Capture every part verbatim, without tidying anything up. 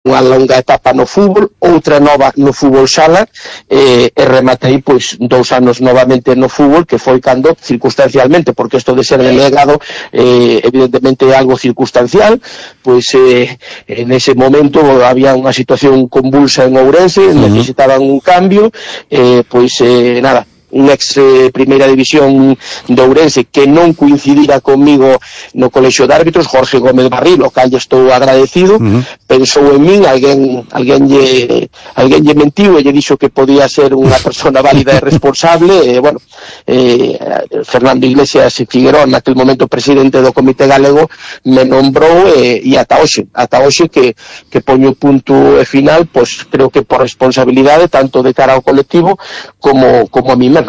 unha longa etapa no fútbol, outra nova no fútbol sala, eh, e rematei pois dous anos novamente no fútbol, que foi cando, circunstancialmente, porque isto de ser delegado eh, evidentemente é algo circunstancial, pois eh, en ese momento había unha situación convulsa en Ourense, uh-huh. necesitaban un cambio, eh, pois eh, nada, un ex eh, primeira división de Ourense que non coincidira comigo no colexio de árbitros, Jorge Gómez Barril, o cal estou agradecido, uh-huh. pensou en min, alguén alguén lle, alguén lle mentiu e lle dixo que podía ser unha persona válida e responsable, e bueno, eh, Fernando Iglesias Figueroa, naquel momento presidente do Comité Galego, me nombrou e, e ata hoxe, ata hoxe que, que poño punto e final, pois creo que por responsabilidade tanto de cara ao colectivo como, como a mí mesmo.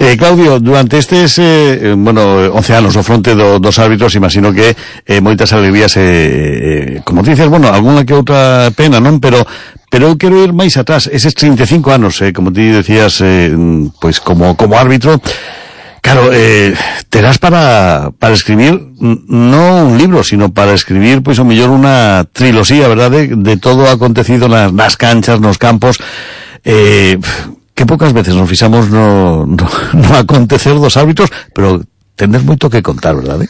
Eh, Claudio, durante estes eh, bueno, once anos ao fronte do, dos árbitros, imagino que eh, moitas alegrías, eh, eh, como dices, bueno, alguna que outra pena, non? Pero pero eu quero ir máis atrás, eses trinta e cinco anos, eh, como ti decías, eh, pois como como árbitro, claro, eh, terás para para escribir non un libro, sino para escribir, pois, o mellor unha trilosía, verdade, de todo o acontecido nas, nas canchas, nos campos, eh... que poucas veces nos fixamos no, no, no acontecer dos árbitros, pero tendes moito que contar, verdade?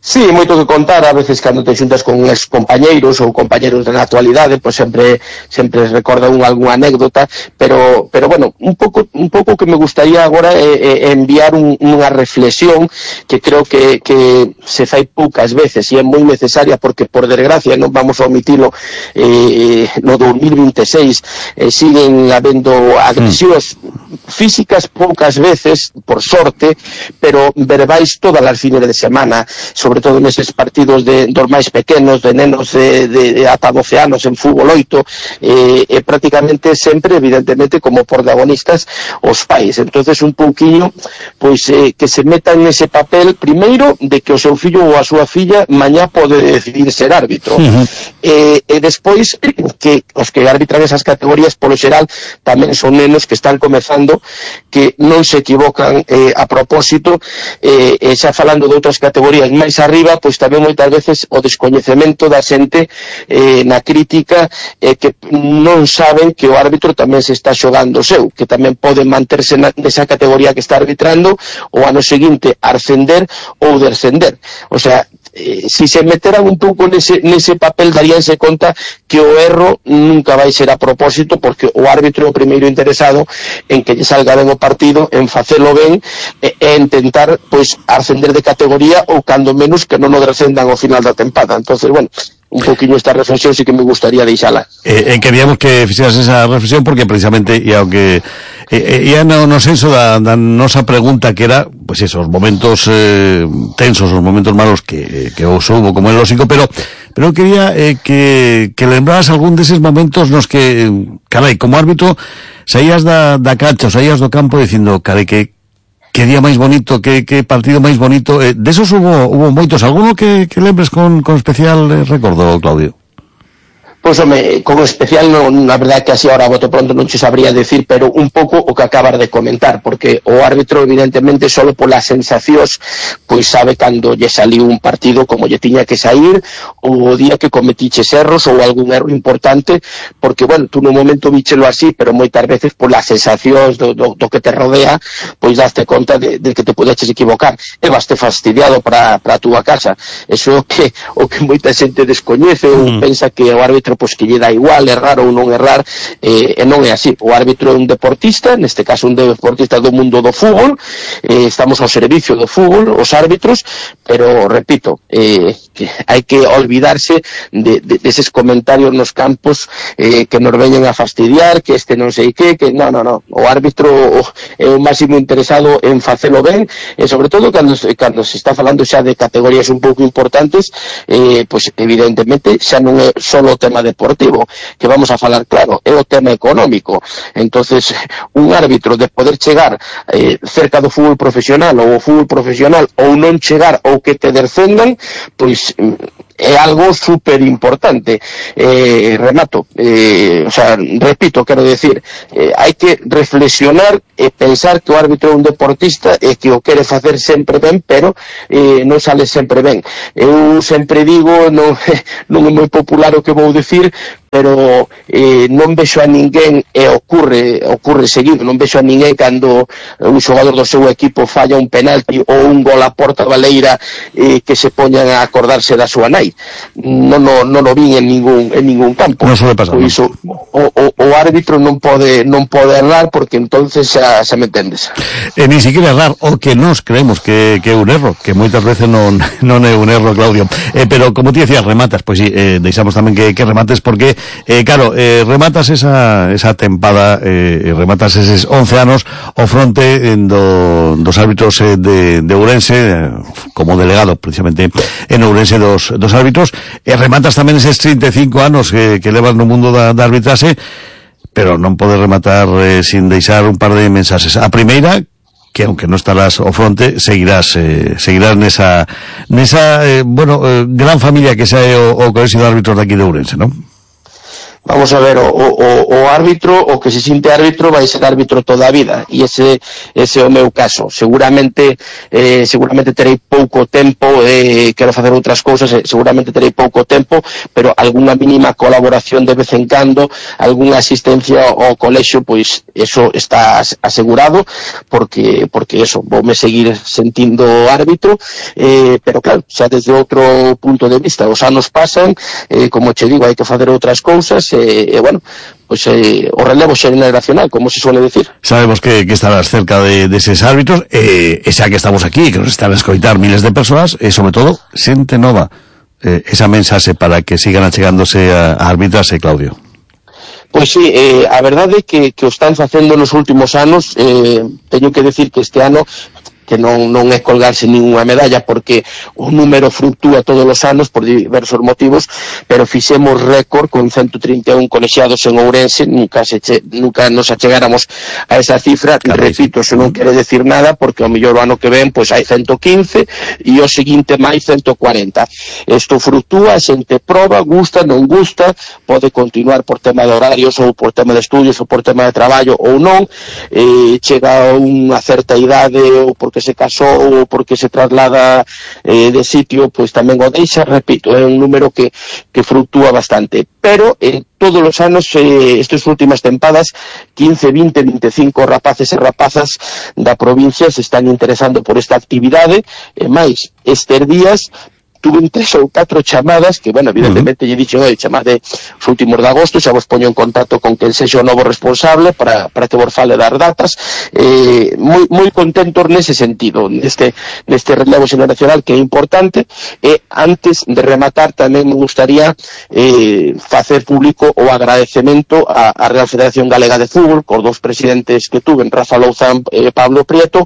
Sí, moito que contar, a veces cando te xuntas con ex compañeiros ou compañeiros da actualidade, pois sempre sempre recorda un algunha anécdota, pero pero bueno, un pouco un pouco que me gustaría agora é, é enviar un, unha reflexión que creo que que se fai poucas veces e é moi necesaria, porque por desgracia non vamos a omitilo, eh, no dos mil veintiséis eh, siguen habendo agresións mm. físicas poucas veces, por sorte, pero verbais todas as fines de semana, sobre todo neses partidos de dos máis pequenos, de nenos de, de, de ata doce anos en fútbol oito, eh, e prácticamente sempre, evidentemente, como protagonistas os pais. Entonces un pouquiño, pois, eh, que se metan nese papel, primeiro, de que o seu fillo ou a súa filla mañá pode decidir ser árbitro, uh-huh. e, e despois que os que arbitran esas categorías, polo xeral, tamén son nenos que están comezando, que non se equivocan eh, a propósito, eh, e xa falando de outras categorías máis arriba, pois tamén moitas veces o descoñecemento da xente eh, na crítica, eh, que non saben que o árbitro tamén se está xogando o seu, que tamén pode manterse na, nesa categoría que está arbitrando o ano seguinte ascender ou descender. O sea, eh, si se meteran un pouco nese, nese papel, daríanse conta que o erro nunca vai ser a propósito, porque o árbitro é o primeiro interesado en que lle salga ben o partido, en facelo ben e, e intentar, pois, ascender de categoría ou cando menos que non o descendan ao final da tempada. Entonces, bueno, un poquinho esta reflexión sí que me gustaría deixala. Eh, eh, queríamos que fixeras esa reflexión porque precisamente e aunque eh, eh, no, no senso da, da nosa pregunta que era, pois pues eso, os momentos eh, tensos, os momentos malos que, que os hubo, como é lógico, pero pero eu quería eh, que, que lembraras algún deses momentos nos que, carai, como árbitro saías da, da cancha, saías do campo dicindo, carai, que que día máis bonito, que, que partido máis bonito, eh, desos hubo, hubo moitos, alguno que, que lembres con, con especial eh, recordo, Claudio? Pois, home, con especial, non, na verdade que así ahora bote pronto non che sabría decir, pero un pouco o que acabas de comentar, porque o árbitro evidentemente solo polas sensacións pois sabe cando lle saliu un partido como lle tiña que sair, ou o día que cometiches erros ou algún erro importante, porque, bueno, tú no momento víchelo así, pero moitas veces polas sensacións do, do, do que te rodea, pois daste conta de, de que te podeches equivocar e vaste fastidiado para a túa casa. Eso é o que, o que moita xente descoñece ou mm. pensa que o árbitro pois que lle dá igual errar ou non errar, eh, e non é así. O árbitro é un deportista, neste caso un deportista do mundo do fútbol, eh, estamos ao servicio do fútbol, os árbitros, pero, repito, eh, que hai que olvidarse de, de, de eses comentarios nos campos eh, que nos veñen a fastidiar, que este non sei que, que non, non, non, o árbitro é o máximo interesado en facelo ben, e sobre todo cando, cando se está falando xa de categorías un pouco importantes, eh, pois evidentemente xa non é só o tema deportivo, que vamos a falar claro, é o tema económico. Entonces, un árbitro de poder chegar eh, cerca do fútbol profesional ou o fútbol profesional ou non chegar ou que te descendan, pois é algo super importante. Eh, remato, eh, o sea, repito, quero decir, eh, hai que reflexionar e pensar que o árbitro é un deportista e que o quere facer sempre ben, pero eh, non sale sempre ben. Eu sempre digo, non, non é moi popular o que vou dicir, pero eh, non vexo a ninguén, e ocurre ocurre seguido, non vexo a ninguén cando un xogador do seu equipo falla un penalti ou un gol a porta baleira eh, que se poñan a acordarse da súa nai. Non o non o vin en ningún en ningún campo. Non suele pasar. Pois o, o, o árbitro non pode non pode errar, porque entonces xa, xa me entendes. E ni siquiera errar, o que nos creemos que, que é un erro, que moitas veces non, non é un erro, Claudio. Eh, pero, como ti decías, rematas, pois sí, eh, deixamos tamén que, que remates, porque Eh, claro, eh, rematas esa, esa tempada, eh, rematas eses once anos ao fronte do, dos árbitros eh, de, de Ourense, eh, como delegado precisamente en Ourense dos, dos árbitros, e rematas tamén eses trinta e cinco anos que, que levas no mundo da, da arbitrase, pero non podes rematar eh, sin deixar un par de mensaxes. A primeira, que aunque non estarás ao fronte, seguirás eh, seguirás nesa, nesa eh, bueno, eh, gran familia que xa é o, o Colexio de Árbitros de aquí de Ourense, non? Vamos a ver, o, o, o árbitro, o que se sinte árbitro, vai ser árbitro toda a vida, e ese ese é o meu caso. Seguramente eh, seguramente terei pouco tempo, eh, quero facer outras cousas, eh, seguramente terei pouco tempo, pero algunha mínima colaboración de vez en cando, algunha asistencia ao colexio, pois eso está asegurado, porque porque eso, voume seguir sentindo árbitro, eh, pero claro, xa desde outro punto de vista, os anos pasan, eh, como che digo, hai que facer outras cousas, e, eh, bueno, pues eh, o relevo xeneracional, como se suele decir. Sabemos que, que estarás cerca de, de eses árbitros, e eh, xa que estamos aquí, que nos están a escoitar miles de persoas, e sobre todo, xente nova, eh, esa mensaxe para que sigan achegándose a, a arbitrarse, Claudio. Pois sí, eh, a verdade é que, que o están facendo nos últimos anos. eh, teño que decir que este ano, que non, non é colgarse ninguna medalla, porque o número fluctúa todos os anos por diversos motivos, pero fixemos récord con ciento trinta e un colexiados en Ourense. Nunca se che, nunca nos achegáramos a esa cifra. Claro, repito, eso non quere decir nada, porque ao mellor o ano que ven pois hai ciento quince e o seguinte máis ciento cuarenta. Isto fluctúa, a xente proba, gusta, non gusta, pode continuar por tema de horarios ou por tema de estudios ou por tema de traballo ou non, eh, chega a unha certa idade ou porque se casou ou porque se traslada eh, de sitio, pois tamén o deixa. Repito, é un número que, que fluctúa bastante, pero eh, todos os anos, eh, estas últimas tempadas, quince, vinte, veinticinco rapaces e rapazas da provincia se están interesando por esta actividade, e máis, estes días tuve tres ou catro chamadas que, bueno, evidentemente, uh -huh. lle dixo, oi, chamade os últimos de agosto, xa vos poño en contacto con quen sexa o novo responsable para, para que vos fale das datas. Eh, moi, moi contentos nese sentido, neste, neste relevo xeneracional, que é importante. E antes de rematar, tamén me gustaría eh, facer público o agradecemento a, a Real Federación Galega de Fútbol, cos dous presidentes que tuven, Rafa Louzán e Pablo Prieto,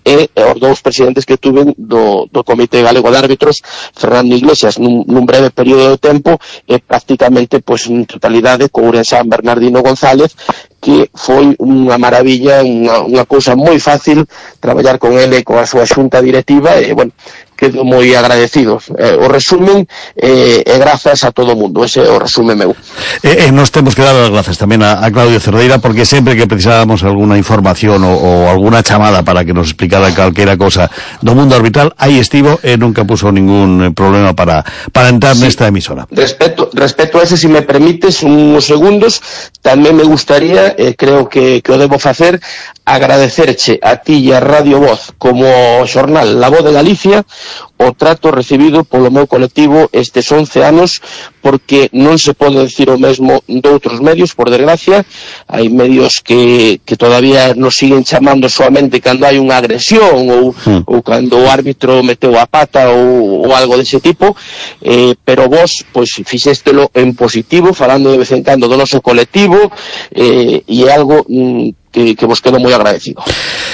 e os dous presidentes que tuven do, do Comité Galego de Árbitros, Fernando Iglesias, nun, nun breve período de tempo, e prácticamente, pois, en totalidade, co ourensán Bernardino González, que foi unha maravilla, unha, unha cousa moi fácil traballar con ele, coa súa xunta directiva, e, bueno, quedo moi agradecidos. Eh, o resumen, eh, e grazas a todo o mundo, ese é o resumen meu. E eh, nos temos que dar as grazas tamén a, a Claudio Cerdeira, porque sempre que precisábamos alguna información o, o alguna chamada para que nos explicara calquera cosa do mundo arbitral, aí estivo e nunca puso ningún problema para, para entrar sí, nesta emisora. Respecto, respecto a ese, si me permites uns segundos, tamén me gustaría, eh, creo que, que o debo facer, agradecerche a ti e a Radio Voz como xornal La Voz de Galicia o trato recibido polo meu colectivo estes once anos, porque non se pode decir o mesmo doutros medios, por desgracia. Hai medios que, que todavía nos siguen chamando solamente cando hai unha agresión ou, mm. ou cando o árbitro meteu a pata ou, ou algo dese tipo, eh, pero vos pois fixéstelo en positivo, falando de vez en cando do noso colectivo, eh, e é algo mm, que, que vos quedo moi agradecido.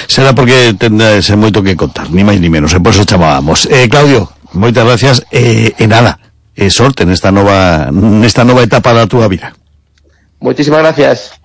Será porque tendrás moito que contar, ni máis ni menos, e por eso chamábamos. Eh, Claudio, moitas gracias, e eh, eh, nada, e eh, sorte nesta nova nesta nova etapa da túa vida. Moitísimas gracias.